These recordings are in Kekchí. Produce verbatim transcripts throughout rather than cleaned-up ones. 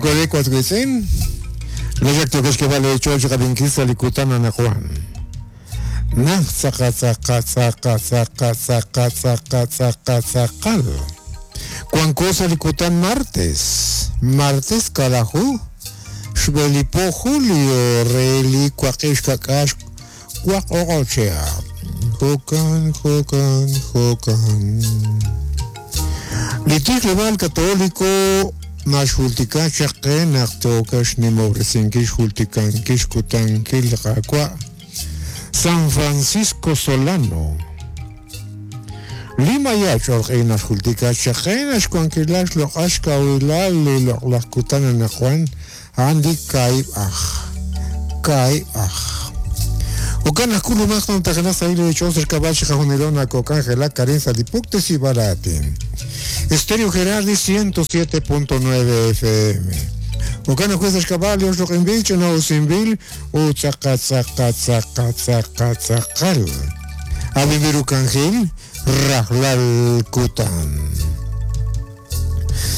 Chokore kwatwitsin. Lejak tokeshkebale chol chikabinkisa likutana na Juan. Nah tzaka tzaka tzaka tzaka tzaka tzaka tzaka tzakal. Cuan cosa likutan martes. Martes kalaju. Xbelipo julio reli kuakish kakash kuak ogochea. Jokan, jokan, jokan. Litik católico naxultikan chaqe naqtokax nimobresinkish jultikankish kutankil qaqua San Francisco Solano Lima yachorqi naxultika chaqe naxkuankilax loqax kawilal loqlaqkutana najuan andi kai aj kai aj Okan akulu maqtan taqnas ayli chosr kabachi jajunilona kokangela Karin Salipuktes y Baratin. Estéreo Gerardi ciento siete punto nueve F M. Okana juezas caballos roquimbil chonausimbil u tzaca tzaca tzaca tzaca tzacal. Abibirucangil rajlal kutan.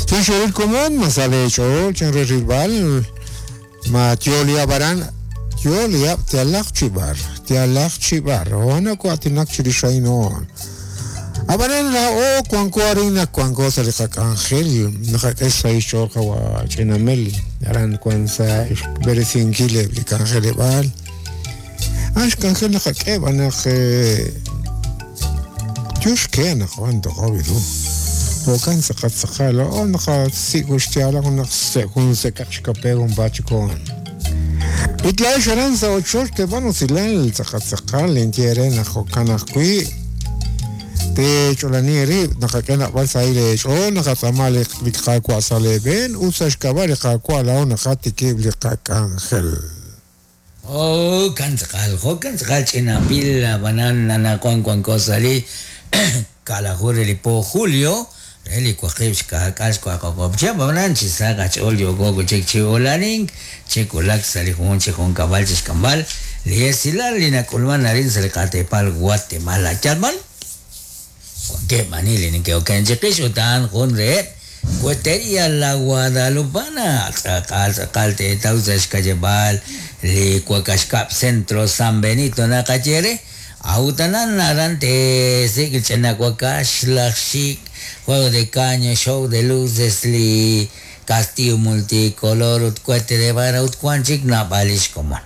Chinchoril común masale chol chinreribal matiolia baran Yolia tialach chibar tialach chibar ona kuatinak chirishaino. Abanan la o cuanco harina cuanco saliqakangel naqak'esa ixorqa wa ch'inamel aran kuansa berezinkile likangeleb'al axkangel naqak'eb anaq yuxke naqwan toqawiru okan saqatsaqal o naqa sikuxtialaq naq sekun sekaqxkape un bachikon Itla xaranza ocho te van osilal saqatsaqal entiere naqokanaqwi te cholanieri naqakena balsaile o naqatsamale liqaqwa saleben usashkabal liqaqwa la naqatikib liqakangel. Oh, kantzqal, jokantzqal chinapil banan nanakuan kuan kosali kalajur lipo julio eli kuaqib xkak'ax kuaqoqopcha banan chisaqa ch'ol yoko chik chiolanin chikulak salijun chijonkabal chixkambal liesilal linakulman narin saliqatepal Guatemala chalman que manili ni que okenchiqish utan jun re cuetería la Guadalupana tzaqal tzaqal tetawsa xkayebal li kuakaxkap centro San Benito naqachere autanan narante sikil ch'inakuakax lajxik juego de caño, show de luces, li castillo multicolor, utcuete de vara, utcuanchik, napalish coman.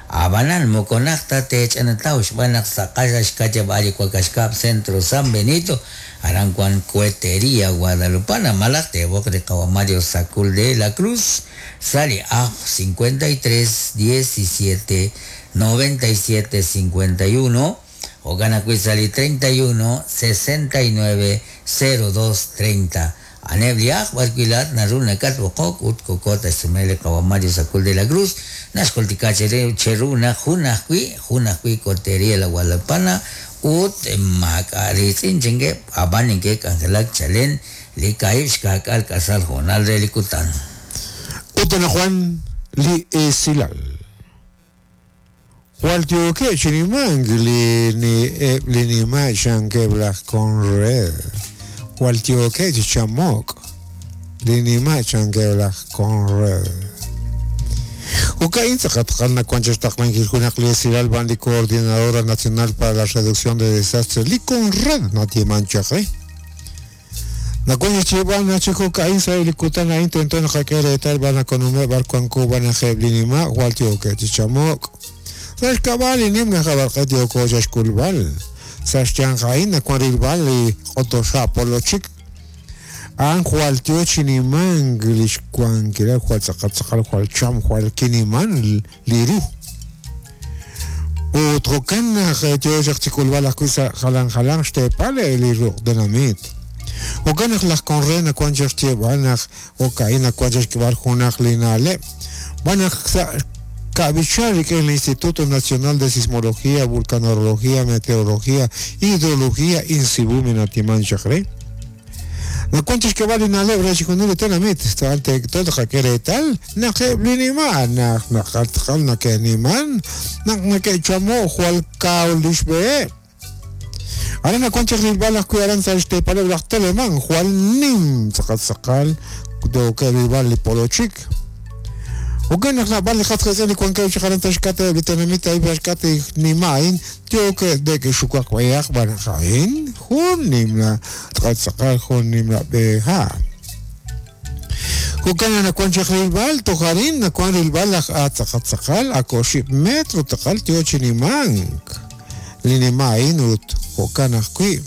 Abanan, moconacta, te echanataush, banak, sacasha, xcachebali, cuacashcap, centro San Benito, arancuan, cuetería, Guadalupana, malacte, bocre, Mario Sacul de la Cruz, sale a cincuenta y tres, diecisiete, noventa y siete, cincuenta y uno, Ogana Cuizali treinta y uno, sesenta y nueve, cero dos, treinta. Anebliaj, Barquilat, Naruna, Catbocok, Utkokota, Sumele, Kawamario, Sacul de la Cruz, Nashkoltika, Cheruna, Junajui, Junajui, Cotería, la Guadalupana, Ut, Macaritzin, Chingue, Abaninque, Cangelac, Chalén, Likaib, Xcacal, Casal, Jonal, de Licután. Utana Juan, Li Esilal. Waltioke chinimang li ni li ni ma chankeblach con red. Waltioke chamok li ni ma chankeblach con red. Ukain tzaqatqalna kuanchastaqlanki junaq li Silal Bandi Coordinadora Nacional para la Reducción de Desastres li con red natimanchaqe. Nakunya chiban nachijo kain sa ilikutana intento naqakere tal bana konume barkuanku bana jeblinima waltioke chamok. Saxcabal nimna jabarqatio koxaxkulbal saxchanjaina kuarilbal q'otoxa polochik an jualtio chiniman lixkuankira jual tzaqatzaqal jual cham jual kiniman liru utrokan tio xaqchikulbal ajkuisa jalan jalan xtepale liru dinamit okanaj laj conrena kuan xaxtiebanaj okaina kuan xaxkibal junaj linale banaj Cabichar, que es el Instituto Nacional de Sismología, Vulcanología, Meteorología, Hidrología, Insibumi, Natiman, Chacre. No cuentas que vale una lebra, si con el tenamit, ante todo jaquere tal, na que blinima, na na jaltjal, na que niman, na na que chamo, jual kaulish be. Ahora na cuentas que balas cuidarán sa este palabra teleman, jual nim, sacal sacal, do que vale polochik. Jo'kan naq naab'al li qas qiitz'in li wankeb' chaq aran sa' xk'atq li tenamit a'in sa' xk'atq li nima' a'in yookeb' neke'xuwak b'ayaq b'an naq a'in jun nimla tz'aqal jun nimla b'e ha'. Jo'kan naq nawan chaq rilb'al toj arin nawan rilb'al laj tz'aqal tz'aqal ak oxib' metro tz'aqal yoo chi nimank li nima' a'in ut jo'kan ajwi'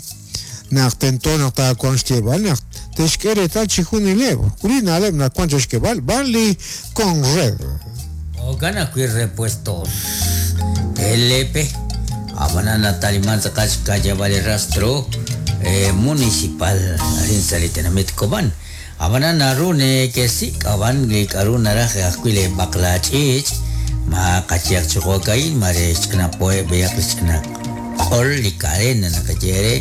naq tento naq taawanq xyeeb'al naq te'xk'e reetal chijunileb' li na'leb' nawan chaq xk'eeb'al b'an li Conred. Jo'kan ajwi' repuestos LP ab'anan nataliman tz'aqal xka'yab'al li rastro eh, municipal arin sa' li tenamit Cobán. Ab'anan naru nekesik' ab'an li k'a'ru naraj ajwi' li b'aqlach'iich' ma qachiyaq chi jo'ka'in mare xch'ina po'eb' b'ayaq li xch'ina q'ol li cadena naqaye re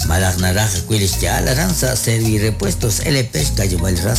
malaj naraj ajwi' li xya'al aran sa' Servirepuestos LP xka'yab'al li rastro